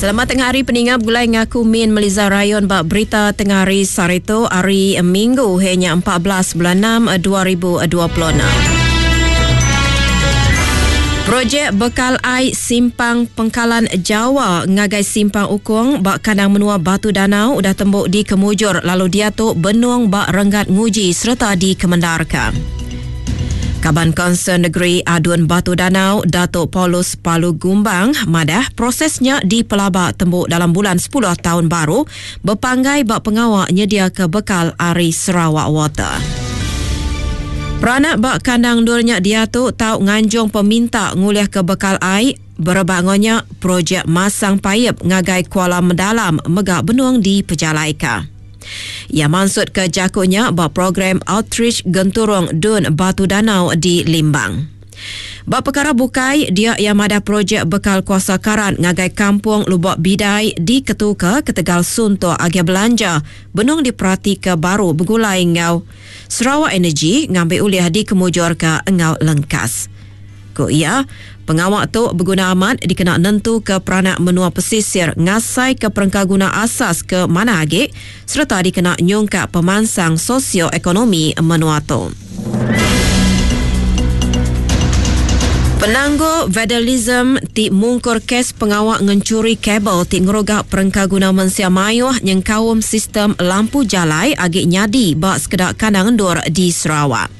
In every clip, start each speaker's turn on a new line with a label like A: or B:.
A: Selamat tengah hari peninga begulai ngaku Min Meliza Rayon ba berita tengah hari sehari tu hari Minggu hanya 14 bulan 6 2026. Projek bekal ai Simpang Pengkalan Jawa ngagai Simpang Ukong ba kandang menua Batu Danau udah tembu dikemujur lalu diatu benung ba renggat nguji sereta dikemendarka. Kaban Kaunsil Negeri Adun Batu Danau Datuk Paulus Palu Gumbang madah proses nya dipelaba tembu dalam bulan sepuluh taun baru bepanggai ba pengawa nyediaka bekal ari Sarawak Water. Peranak ba kandang endur nya diatu tau nganjung peminta ngulihka bekal ai berebak enggau nya projek masang paip ngagai Kuala Mendalam mega benung dipejalaika. Iya mansutka jaku nya ba program Outreach Genturung Dun Batu Danau di Limbang. Ba pekara bukai, dia iya madah projek bekal kuasa karan ngagai Kampung Lubok Bidai diketuka ketegal suntuk agih belanja benung diperatika baru begulai enggau Sarawak Energy ngambi ulih dikemujurka enggau lengkas. Ku iya, pengawa tu beguna amat dikena nentuka peranak menua pesisir ngasaika perengkaguna asas ke manah agi sereta dikena nyungkak pemansang sosio-ekonomi menua tu. Penanggul vandalism ti mungkur kes pengawa ngenchuri kabel ti ngeruga perengkaguna mensia mayuh nyengkaum sistem lampu jalai agi nyadi ba sekeda kandang endur di Sarawak.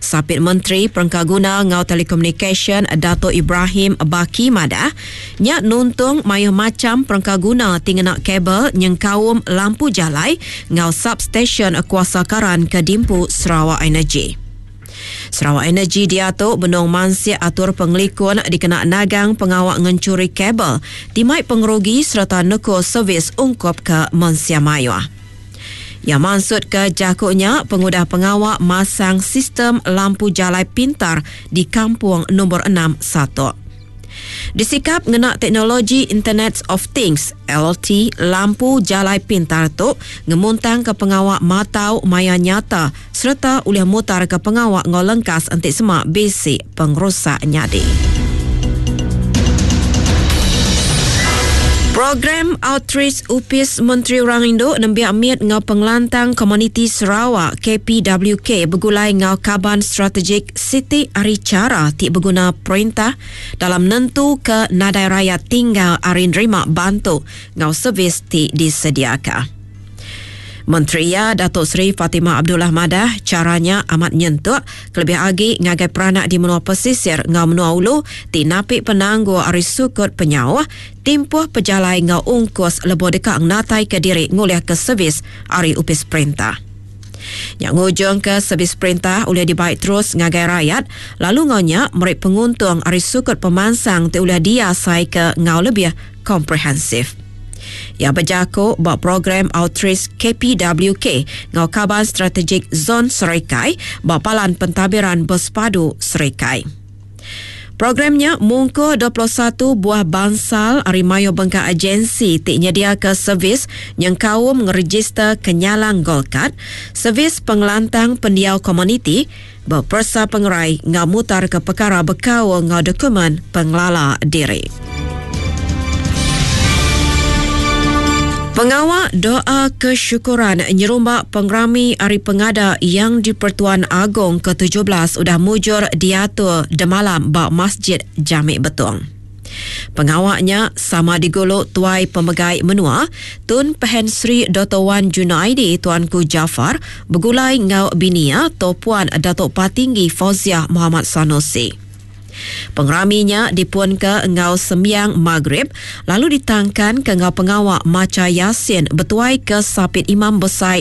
A: Sapit Menteri Perengkaguna enggau Telekomunikasyen Datuk Ibrahim Baki madah, nya nuntung mayuh macham perengkaguna ti ngena kabel nyengkaum lampu jalai enggau substesyen kuasa karan ke diempu Sarawak Energy. Sarawak Energy diatu benung mansik atur pengelikun dikena nagang pengawa ngenchuri kabel ti mai pengerugi sereta nekul servis ungkup ke mensia mayuh. Iya mansutka jaku nya pengudah pengawa masang sistem lampu jalai pintar di Kampung Nombor Enam Satok. Disikap ngena teknologi Internet of Things, IoT, lampu jalai pintar tu ngemuntangka pengawa matau maya nyata sereta ulih mutarka pengawa enggau lengkas enti sema bisi pengerusak nyadi. Program Outreach Opis Menteri Orang Indu, Nembiak Mit enggau Pengelantang Komuniti Sarawak, KPWK, begulai enggau kaban strategik siti ari chara ti beguna perintah dalam nentuka nadai rayat tinggal ari nerima bantu enggau servis ti disediaka. Menteri iya, Datuk Seri Fatimah Abdullah madah, chara nya amat nyentuk kelebih agi ngagai peranak di menua pesisir enggau menua ulu ti napi penanggul ari sukut penyauh, timpuh pejalai enggau ungkus lebuh deka ngenataika diri ngulihka servis ari opis perintah. Nya ngujungka servis perintah ulih dibai terus ngagai rayat lalu enggau nya meri penguntung ari sukut pemansang ti ulih diasaika enggau lebih komprehensif. Iya bejaku ba program Outreach KPWK enggau Kaban Strategik Zon Serikai ba Palan Pentadbiran Bersepadu Serikai. Program nya mungkur 21 buah bansal ari mayuh bengkah agensi ti nyediaka servis nyengkaum ngerejister Kenyalang Gold Card, servis pengelantang pendiau komuniti, beperesa pengerai enggau mutarka pekara bekaul enggau dokumen pengelala diri. Pengawa doa kesyukuran nyerumba pengerami Hari Pengada Yang di-Pertuan Agong ke-17 udah mujur diatur demalam ba Masjid Jamik Betong. Pengawa nya sama digulu Tuai Pemegai Menua, Tun Pehin Sri Doktor Wan Junaidi Tuanku Jaafar begulai enggau bini iya Toh Puan Datuk Patinggi Fauziah Mohamad Sanusi. Pengerami nya dipunka enggau sembiang Maghrib lalu ditangkanka enggau pengawa macha Yasin betuaika Sapit Imam Besai.